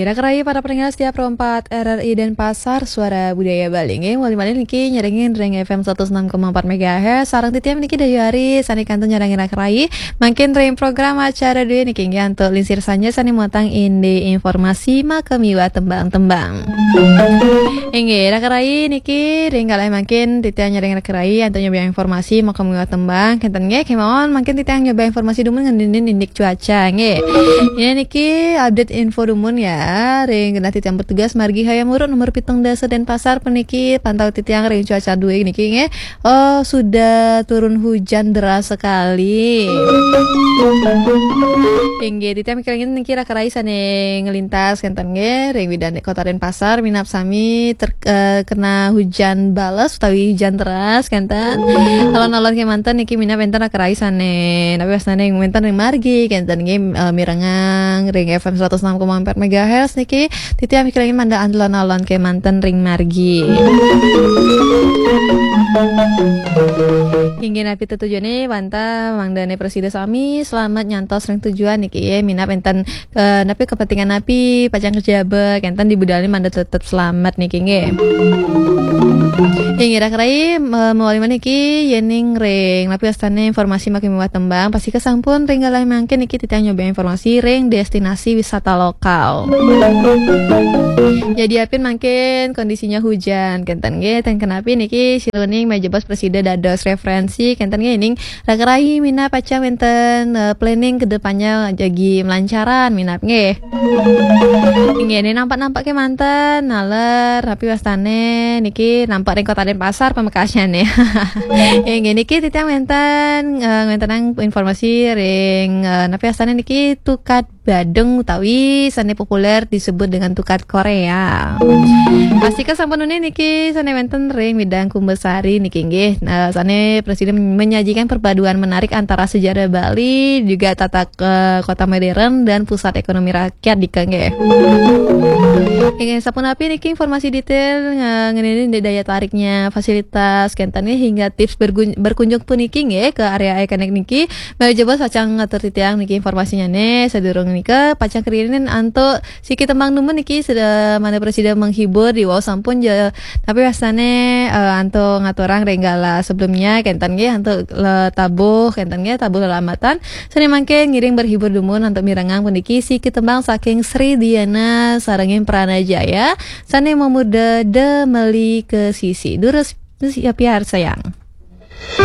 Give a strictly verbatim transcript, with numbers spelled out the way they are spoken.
Raka rai para pendengar setia Pro empat R R I Denpasar, Suara Budaya Bali. Nggih, malih-malih niki nyarengin ring F M seratus enam koma empat megahertz. Sareng titiang niki Dayu Ari, sane kantun nyarengin raka rai. Mangkin ring program acara duwe niki nggih antuk lingsir sanja sane muatang indik informasi makamiwah tembang-tembang. Inggih, raka rai niki ring kalih mangkin titiang nyarengin raka rai antuk nyobiahang informasi makamiwah tembang. Kenten nggih, kemawon mangkin titiang nyobiahang informasi dumun ngeninin indik cuaca nggih. Ini niki update info dumun ya. Ring genah titiang bertugas margi Hayam Wuruk nomor pitung dasa Denpasar puniki pantau titiang ring cuaca duwe niki nggih. Oh, sudah turun hujan deras sekali. Inggih, titiang mikelingin niki raka rai sane nglintas kenten nggih ring widane Kota Denpasar minab sami ter-, eh, kena hujan bales utawi hujan deras kenten. Alon-alon kemanten niki minab enten raka rai sane napi wastane wenten ring margi kenten nggih, eh, mirengang ring F M seratus enam koma empat megahertz niki titiang mikelingin mangda alon-alon kemanten ring margi. Inggih napi tetujuane wantah mangdane prasida sami selamat nyantos ring tujuan niki ya minab enten, eh, napi kepentingan napi pacang kajaba kenten di budalane mangda tetep selamat niki nggih. Inggih raka rai, eh, mawali malih niki yening ring napi wastane informasi makamiwah tembang pasti kesampun ring kalih mangkin niki titiang nyobiahang informasi ring destinasi wisata lokal. Jadi apin mangkin kondisinya hujan kenten nggih, ten kenapi niki siluning meja bos prasida dados referensi kenten nggih ning raka rai minab pacang wenten, eh, planning ke depannya jagi melancaran minab nggih. Inggih ini nampak-nampak kemanten naler napi wastane niki nampak ring Kota Denpasar pamekasnya nih. Inggih niki titiang wenten, eh, wentenang informasi ring, eh, napi wastane niki tukad Badung utawi sane populer disebut dengan tukad Korea. Pasti kesampun niki sane wenten ring widang Kumbasari niki nggih. Nah, sane prasida menyajikan perpaduan menarik antara sejarah Bali juga tata ke kota modern dan pusat ekonomi rakyat dika nggih. Inggih sapunapi niki informasi detail, eh, ngeninin daya tariknya fasilitas kenten nggih hingga tips bergun-, berkunjung puniki nggih ke area ikonik niki. Mari coba pacang ngatur titiang niki informasinya nih. Sadurung nika pacang kerinin antuk siki tembang dumun niki sudah mana prasida menghibur di wau sampun ja, tapi wastane, eh, antuk ngaturang ring galah sebelumnya kenten nggih antuk le-, tabuh kenten nggih tabuh lelambatan sane mangkin ngiring berhibur dumun antuk mirengang puniki siki tembang saking Sri Diana sarengin Pranajaya sane mamurda Demeli Kesisi. Durus ya piarsayang.